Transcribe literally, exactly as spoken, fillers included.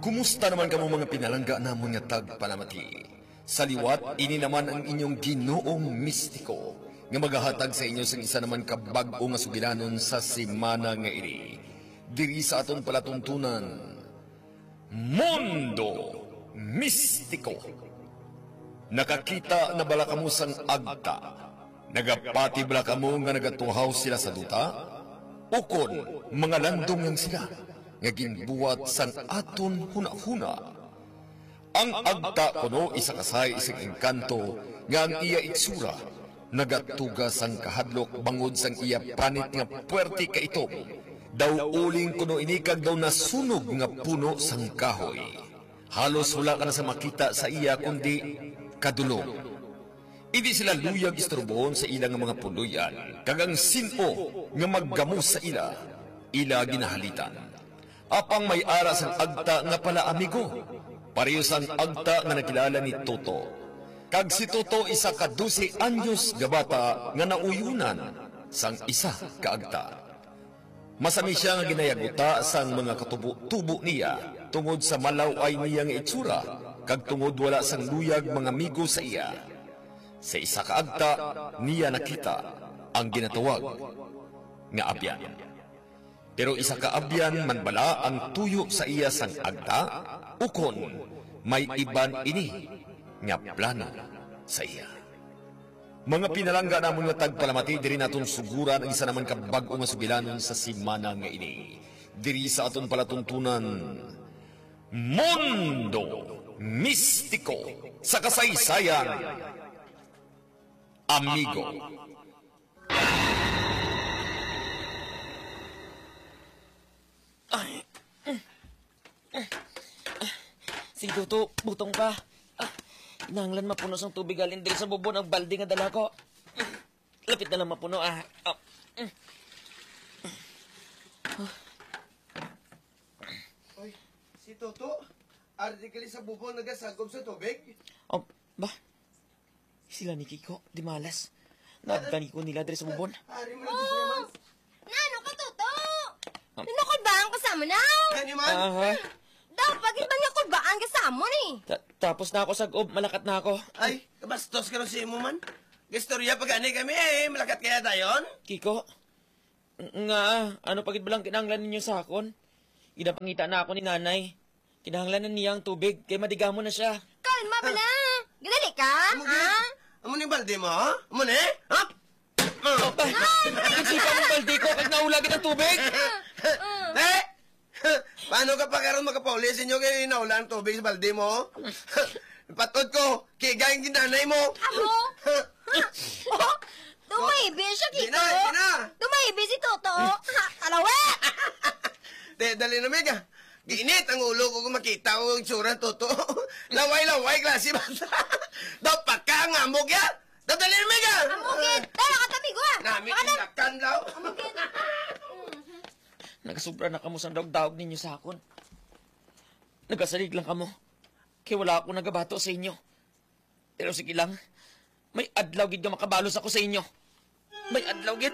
Kumusta naman kamo, mga pinalangga namon nga tagpalamati? Sa liwat, ini naman ang inyong Ginoong mistiko nga magahatag sa inyo sang isa naman ka bag-o nga sugilanon sa semana nga ini. Diri sa aton palatuntunan, Mundo Mistiko. Nakakita na bala kamo sang agta? Nagapati bala kamo nga nagatuhaw sila sa duta? Ukon mga landong lang sila nga ginbuhat sang aton hunahuna? Ang agta kuno isa ka sahi sing engkanto nga ang iya itsura nagatuga sang kahadlok bangod sang iya panit nga puwerte ka itom. Daw uling kuno ini kag daw nasunog nga puno sang kahoy. Halos wala ka na sa makita sa iya kundi kadulom. Indi sila luyag istorbohon sa ila nga mga puloy-an, kag ang sin-o nga maggamos sa ila, ila ginahalitan. Apang may ara sang agta nga palaamigo, pareho sang agta nga nakilala ni Toto. Kag si Toto isa ka dose anyos nga bata nga nauyonan sang isa ka agta. Masami sia nga ginayaguta sang mga katubo-tubo niya tungod sa malaw-ay niya nga itsura kag tungod wala sang luyag mangamigo sa iya. Sa isa ka agta niya nakita ang ginatawag nga abyan. Pero isa ka abyan man bala ang tuyo sa iya sang agta, ukon may iban ini nga plano sa iya? Mga pinalangga namon nga tagpalamati, diri naton suguran ang isa naman ka bag-o nga sugilanon sa semana nga ini. Diri sa aton palatuntunan, Mundo Mistiko sa Kasaysayan, Amigo. Ay. Sige, Toto, butong pa. Ah, kinahanglan mapuno sang tubig halin diri sa bubon ang balde nga dala ko. Lapit na lang mapuno, ah. Ah. Oy, si Toto, ari gali sa bubon nagasagop sa tubig. Oh, ba? Sila ni Kiko, di malas. Naabtan ko nila diri sa bubon. Ari mo na di siya man. Nano ka, Toto? Ah. Nanukod ba ang kasama na? Ano man? Aha. Daw, pagit ba niya kod ba ang kasama ni? Ta- tapos na ako sa gob, malakat na ako. Ay, kabastos ka rin sa imo man. Istorya pa gani kami eh, malakat kaya dayon? Kiko, ng- nga, ano pa gid ba lang kinahanglan ninyo sa akon? Ginapangita na ako ni nanay. Kinahanglan na niya ang tubig, kay madigamon na siya. Kalma bala. Gadali ka, Amo ha? Amo ni balde mo, ha? Amo ni? Ha? Oh, pa, nagsipa ang balde ko, kag naula gid ang tubig. Eh? Paano ka pa karon makapauli sa inyo kay naula ang tubig sa balde mo? Patod ko, kigay ang ginanay mo. Amo? Oh, tumahibi siya, Di Kiko. na, di na. Tumahibi si Toto. Ha, alawi! Te, dali na, Mega. Ginit ang ulo ko kung makita ko ang itsura ng Toto. Laway-laway, klase bata. Daw paka ang amog ya. Daw dali na, Mega. Amo gid. Dala ka, tabi ko, ah. Nami Baka na- tindakan daw. Amo gid. Nagasubra na kamo sang daog-daog ninyo sa akon. Nagasalig lang kamo. Kay wala ako nagabato sa inyo. Pero sige lang, may adlaw gid nga makabalos ako sa inyo. May adlaw gid.